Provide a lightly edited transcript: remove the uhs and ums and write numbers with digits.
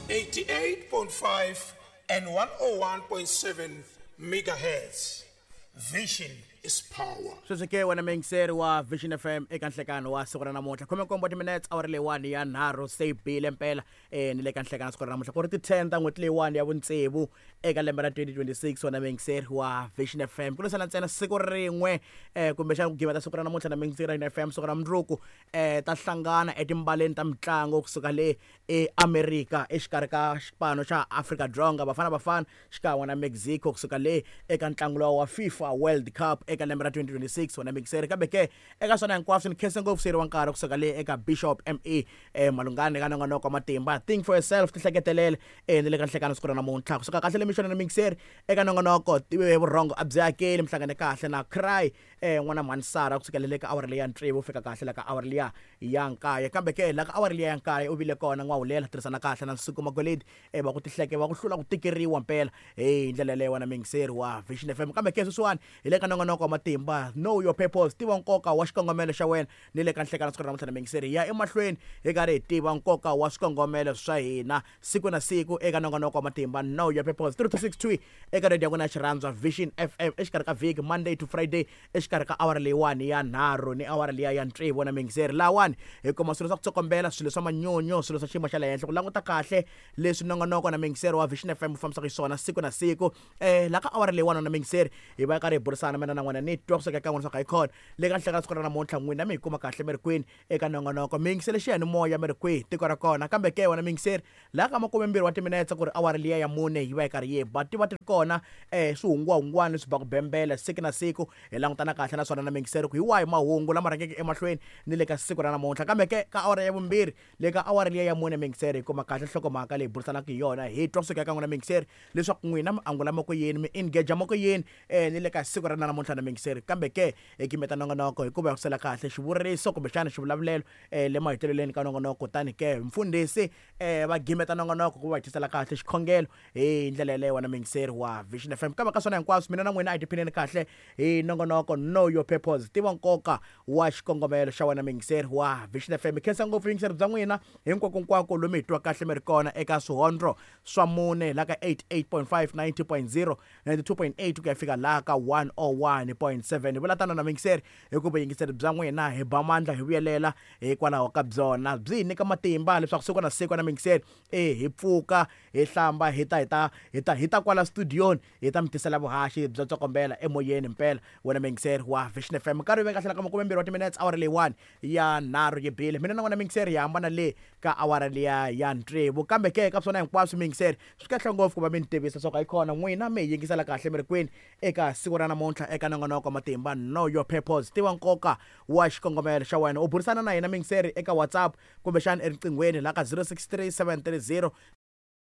88.5 and 101.7 megahertz. Vision is power. Sweswi ke wena muyingiseri wa Vision FM, eka nhlekano wa siku ra namuntlha, 17 wa timinetse awara leyiwani ya nharhu se yi bile mpela, ni le ka nhlekano siku ra namuntlha ku ri ti-10 ta n'hweti leyiwani ya vutsevu eka lembe ra 2026. Wena muyingiseri wa Vision FM, ku lwisana ntsena siku rin'we, kumbexana ku gimeta siku ra namuntlha na muyingiseri wa FM, siku ra mundzuku ta hlangana etimbaleni ta mitlangu kusuka le eAmerika exikarhi ka xipano xa Afrika-Dzonga, Bafana Bafana, xikan'we na Mexico kusuka le eka ntlangu lowa wa FIFA World Cup eka lembe ra 2026. Wena mixeri, kambe ke eka swona hinkwaswo ni khense ngopfu seri wa nkarhi kusuka le eka Bishop Me Malungani eka nongonoko wa matimba Think for Yourself, tihleketelele, ni le ka nhlekano siku ra namuntlha kusuka kahle le mixona na mixeri eka nongonoko Vurhongo a byi hakeli, mi hlangane kahle na Cry n'wana mhani Sara kusukela le ka awara leya tsevu fika kahle la ka awara liya ya nkaye. Kambe ke la ka awara liya ya nkaye u vile kona n'wahulela tirhisana kahle na Nsuku Magoledi, va ku tihleke va ku hlula ku tikeriwa mpela hi ndlela yaleyo, wena muyingiseri wa Vision FM. Kambe ke sweswiwani hi le ka nongonoko wa matimba Know Your Purpose, tiva nkoka wa xikongomelo xa wena, ni le ka nhlekano siku ra namuntlha na muyingiseri hi ya emahlweni hi karhi hi tiva nkoka wa swikongomelo swa hina siku na siku eka nongonoko wa matimba Know Your Purpose, 3 to 6 eka radio ya n'wina ya xirhandzwa Vision FM, exikarhi ka vhiki, Monday to Friday, exikarhi ka awara leyiwani ya nharhu ni awara liya ya tsevu. Na muyingiseri, lahawani hi kuma swilo swa ku tsokombela, swilo swa manyunyu, swilo swa xiyimo xa le henhla, ku languta kahle leswi nongonoko na muyingiseri wa Vision FM wu fambisaka xiswona siku na siku. La ka awara leyiwani na muyingiseri hi va karhi hi burisana mina na n'wina, ni twa kusuka eka n'wina swa ku hi khona le ka nhlekani siku ra namuntlha n'wina mi hi kuma kahle mi ri kwini eka nongonoko, mi yingisele xiyanimoya mi ri kwihi tiko ra kona. Kambe ke wena muyingiseri, laha ka 20 wa timinetse ku ri awara liya ya mune yi va yi karhi yi ba, ti va ti ri kona swihungwahungwani leswi ba ku bembela siku na siku, hi langutana kahle naswona na muyingiseri ku hi wahi mahungu lama rhangeke emahlweni ni le ka siku ra namuntlha. Kambe ke ka awara ya vumbirhi le ka awara liya ya mune, muyingiseri, hi kuma kahle nhlokomhaka leyi burisanaka hi yona, hi twa kusuka eka n'wina muyingiseri leswaku n'wina mi angula moko yini, mi engage moko yini, ni le ka siku ra namuntlha na muyingiseri. Kambe ke hi gimeta nongonoko hikuva hi kusela kahle xivuriso kumbexana xivulavulelo le maheteleleni ka nongonoko, kutani ke mfundhisi va gimeta nongonoko ku va hi tisela kahle xikhongelo hi ndlela yaleyo, wena muyingiseri wa Vision FM. Kambe ka swona hinkwaswo, mina na n'wina a hi tiphineni kahle hi nongonoko Know Your Purpose, tiva nkoka wa xikongomelo xa wena, muyingiseri wa Vision FM. Hi khensa ngopfu yingiseri bya n'wina hinkwako lomu hi twa kahle mi ri kona eka swihondlo swa mune, la ka 88.5, 90.0, 92.8 ku ya fika laha ka 101.7. Hi vula tano na muyingiseri hikuva vuyingiseri bya n'wina hi ba mandla hi vuyelela hikwalaho ka byona, byi hi nyika matimba leswaku siku na siku na muyingiseri hi pfuka, hi hlamba, hi ta hi ta hi ta hi ta kwala studioni hi ta mi tisela vuhaxi bya tsokombela emoyeni mpela, wena muyingiseri wa Vision FM. Nkarhi wu ve kahle la ka 20 wa timinetse awara leyiwani ya nharhu yi bile, mina na n'wina muyingiseri hi hambana le ka awara liya ya tsevu. Kambe ke ka swona hinkwaswo muyingiseri, swi kahle ngopfu ku va mi ni tivisa swa ku hayi khona n'wina mi hi yingisela kahle mi ri kwini eka siku ra namuntlha eka nongonoko wa matimba Know Your Purpose, tiva nkoka wa xikongomelo xa wena. U burisana na hina muyingiseri eka WhatsApp kumbexana eriqinghweni la ka 063 730